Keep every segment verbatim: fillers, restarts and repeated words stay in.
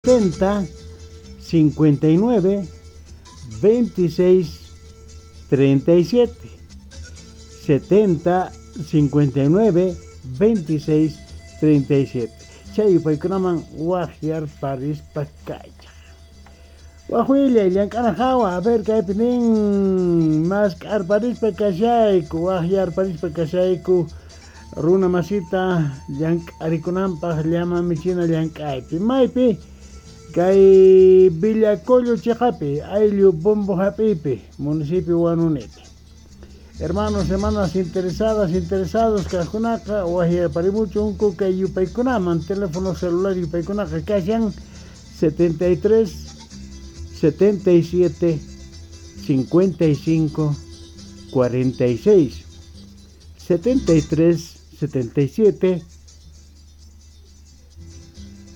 setenta cincuenta y nueve veintiséis treinta y siete setenta cincuenta y nueve veintiséis treinta y siete. Chay yupaykunaman waqyarparispa kaychaq. Wajwillay llank'ana hawa, a ver kaypi nin mask'arparispa kashayku, waqyarparispa kashayku runa masita llank'arikunanpaq llama michina llank'aypi. Maypi kay Villacollo chiqapi, ayllu Bombo hap'ipi, municipio Huanunipi. Hermanos, hermanas interesadas, interesados kaqkunaqa waqyarparimuchunku kay yupaykunaman, teléfono celular yupaykunaqa kashan setenta y tres setenta y siete cincuenta y cinco cuarenta y seis setenta y tres setenta y siete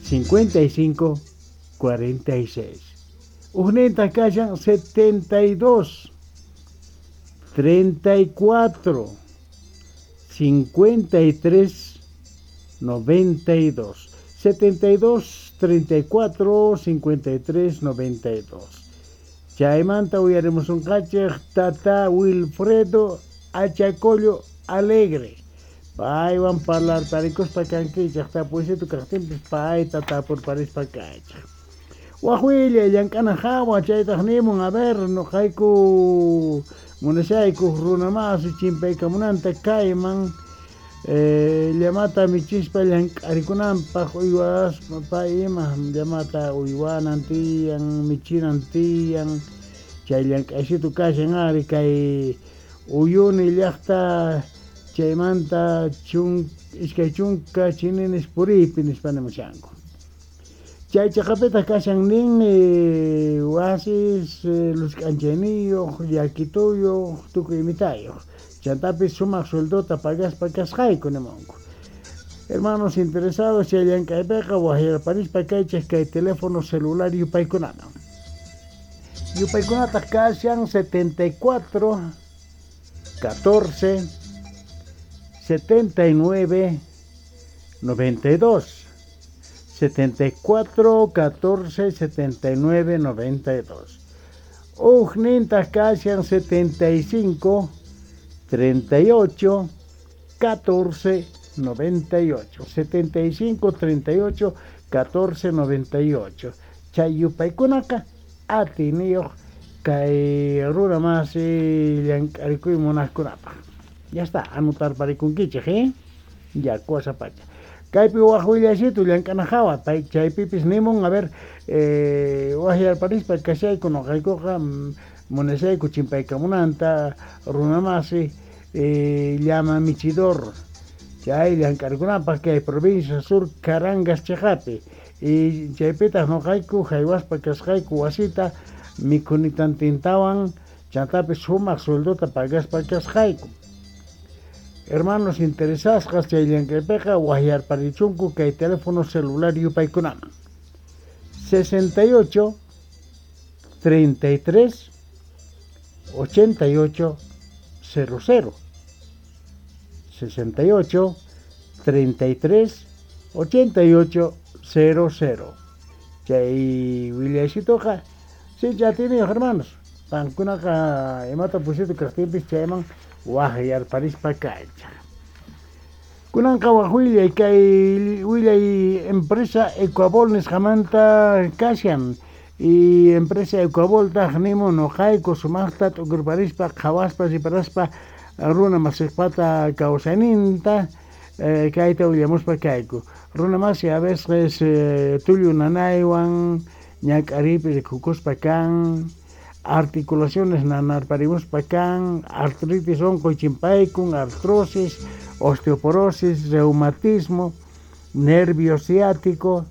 cincuenta y cinco cuarenta y seis. Ujninta kashan setenta y dos treinta y cuatro cincuenta y tres noventa y dos setenta y dos treinta y cuatro cincuenta y tres noventa y dos. Chaymanta uyaremos un kachej tata Wilfredo Achacollo Alegre. Paywan parlarparikuspa kankichej tapuysito kaqtinpis payta tapurparispa kachej. Wajwillay llank'ana hawa chaytaq nimun, a ver noqayku munashayku runa masi chimpaykamunanta kayman eh, llamata michispa llank'arikunanpaq uywaspa pay ima llamata uywanan tiyan michinan tiyan chay llank'aysitu kashan ari kay Uyuni llaqta chaymanta chun iskay chunka chininis puriypi nispa nimushanku. Chay chiqapitaq kashan nin eh, wasis eh, lusk'anchayniyuq llakituyuq tukuy imitayuq chantapis sumaq sueldota pagaspa kasqayku nimunku. Hermanos interesados chay llank'aypiqa waqyarparispa kaychej kay teléfono celular yupaykunaman. Yupaykunataq kashan setenta y cuatro catorce setenta y nueve noventa y dos setenta y cuatro catorce setenta y nueve noventa y dos. Ujnintaq kashan setenta y cinco treinta y ocho catorce noventa y ocho setenta y cinco treinta y ocho catorce noventa y ocho. Chay yupaykunaqa atiniyuq kay runa masi llank'arikuy munaqkunapaq. Ya está, anotarparikunkichej, eh? Ya, cosa pacha. Kaypi waj willaysitu llank'ana hawa, pay chaypipis nimun, a ver, eh, waqyarparispa kashayku noqaykuqa munashayku chimpaykamunanta runa masi eh, llama michidor chay llank'arikunapaq kay provincia sur Carangas chiqapi. Y chaypitaq noqayku haywaspa kasqayku wasita mikhunitantintawan chantapis sumaq sueldota pagaspa kasqayku. Hermanos interesasqas chay llank'aypiqa waqyarparichunku kay teléfono celular yupaykunaman sesenta y ocho treinta y tres ochenta y ocho cero cero sesenta y ocho treinta y tres ochenta y ocho cero cero. Chay willaysitoqa sí ya tiene hermanos qankunaqa imata pusito kaqtinpis chayman waqyarparispa kaychaq. Kunanqa wajwillay kay willay empresa Ecuabol nisqamanta kashan y empresa Ecuaboltaq nimun noqayku sumaqta t'ukurparispa qhawaspa riparaspa runa masiqpata kawsayninta eh, kayta willamuspa kayku. Runa masi a veces eh, tullu nanaywan ñak'ariypi rikukuspa kan articulaciones nanarparimuspa kan artritis unquy chimpaykun artrosis osteoporosis reumatismo nervio ciático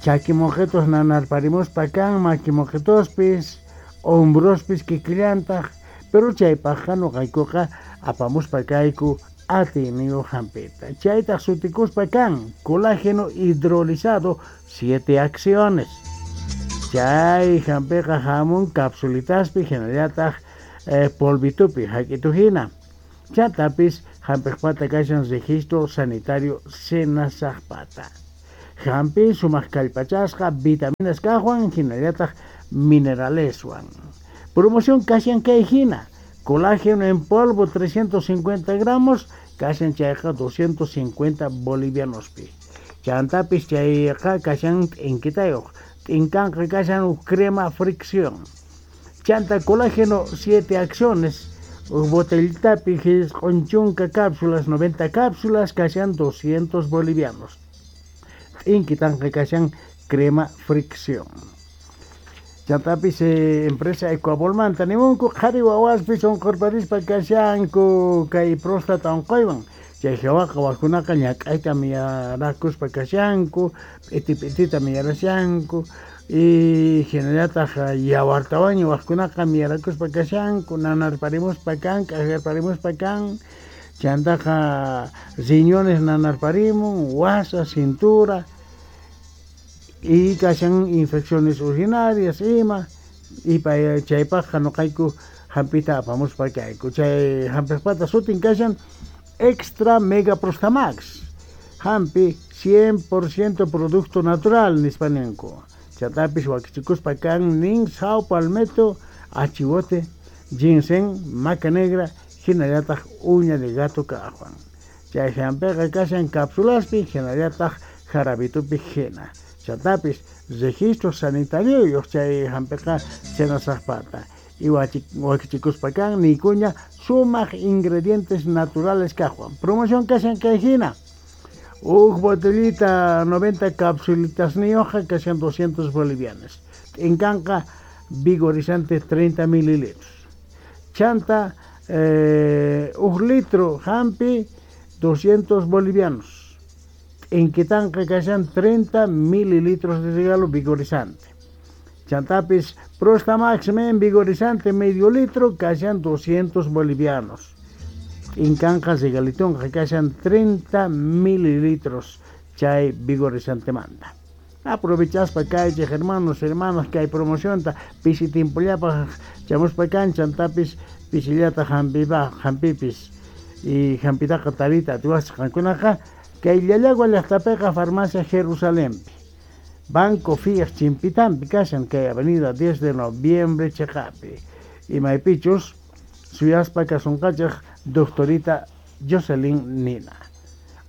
chakimoqetos nanarparimuspa kan makimoqetospis hombrospis kikillantaq pero chaypaqqa noqaykuqa apamuspa kayku atiyniyuq hampita. Chaytaq sutikuspa kan colágeno hidrolizado siete acciones. Chay hampiqa hamun capsulitaspi hinallataq eh, polvitupi hak'ituhina. Chantapis hampiqpata kashan registro sanitario senasaqpata. Hampi sumaq kallpachasqa vitaminas kaqwan hinallataq mineraleswan. Promoción kashan kay hina. Colágeno en polvo trescientos cincuenta gramos, kashan chayqa doscientos cincuenta bolivianospi. Chantapis chayqa kashan t'inkitayuq. T'inkanqa kashan crema fricción. Chanta colágeno siete acciones, botellitapi q'unchunka cápsulas, noventa cápsulas, kashan doscientos bolivianos. T'inkitanqa kashan crema fricción. Chantapis eh, empresa Ecuabolmanta nimunku qhari wawaspis unqurparispa kashanku kay próstata unquywan. Chay hawaqa wakunaqa ñak'ayta miyarakuspa kashanku, p'iti p'itita miyarashanku, y hinallataq yawartawanña wajkunaqa miyarakuspa kashanku, nanarparimuspa kan, k'ajarparimuspa kan, chantaqa riñones nanarparimun, wasa, cintura, y kashan infecciones urinarias ima, y chaypaqqa noqayku hampita apamuspa kayku. Chay hampiqpata sutin kashan Extra Mega Prostamax. Hampi cien por ciento producto natural nispa ninku. Chatapis wakichikuspa kan nin sao palmetto, achiwote, ginseng, maca negra, hinallataq uña de gato kaqwan. Chay hampiqa kashan cápsulaspi, hinallataq jarabitupi hina. Chatapis registro sanitario chay hampiqa senasaqpata. Y wakichikuspa kan nikuña sumaq ingredientes naturales kaqwan. Promoción kashan kay hina. Uj botellita noventa capsulitas nioja kashan doscientos bolivianos. T'inkanqa vigorizante treinta mililitros. Chanta eh, uj litro hampi doscientos bolivianos. T'inkitanqa kashan treinta mililitros de regalo vigorizante. Chantapis Prostamax men vigorizante medio litro kashan doscientos bolivianos. T'inkanqa regalitonqa kashan treinta mililitros chay vigorizante manta. Aprovechaspa kaychej hermanos, hermanas, kay promocionta pisi timpullapaj chamuspa kan chantapis pisillata hampipa hampipis y hampitaqa tarita atiwasqa qankunaqa kay Llallagua llaqtapiqa farmacia Jerusalempi. Banco Fiat Chimpitampi kashan kay avenida diez de noviembre cheqapi. Y maypichus suyaspa kasunqachej doctorita Jocelyn Nina.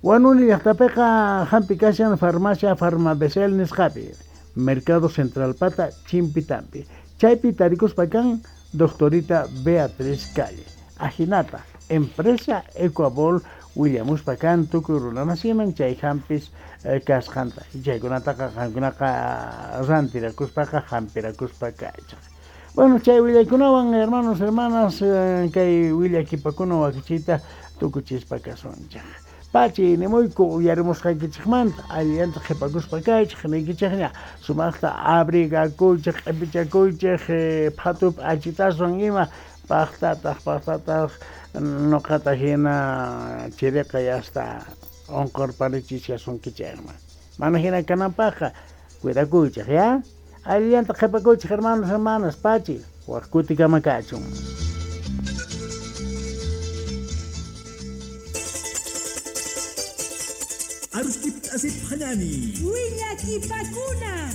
Huanuni llaqtapiqa hampi kashan farmacia Farmabesel nisqapi, Mercado Central Pata Chimpitampi. Chaypi tarikuspa kan doctorita Beatriz Calle. Ajinata, empresa Ecuabol willamuspa kan tukuy runamasiman chay hampis eh, kasqanta. Chaykunataqa qankunaqa rantirakuspaqa hampirakuspa kaychaq. Bueno, chay willaykunawan hermanos, hermanas, eh, kay willakipakuna wakichita tukuchispa kasunchaq. Pachi nimuyku uyarimusqaykichikmanta allillanta qhipakuspa kaychik niykichikña sumaqta abrigakuychik q'ipichakuychik eh, phatupi achitaswan ima paqtataq paqtataq noqata hina chiriqa yasta unqurparichishasunkichikman. Mana hina kananpaqqa cuidakuychik ya. Allillanta qhipakuychik hermanos, hermanas, pachi waq kutikama kachun. Arustip asip hanani. Willakipakuna.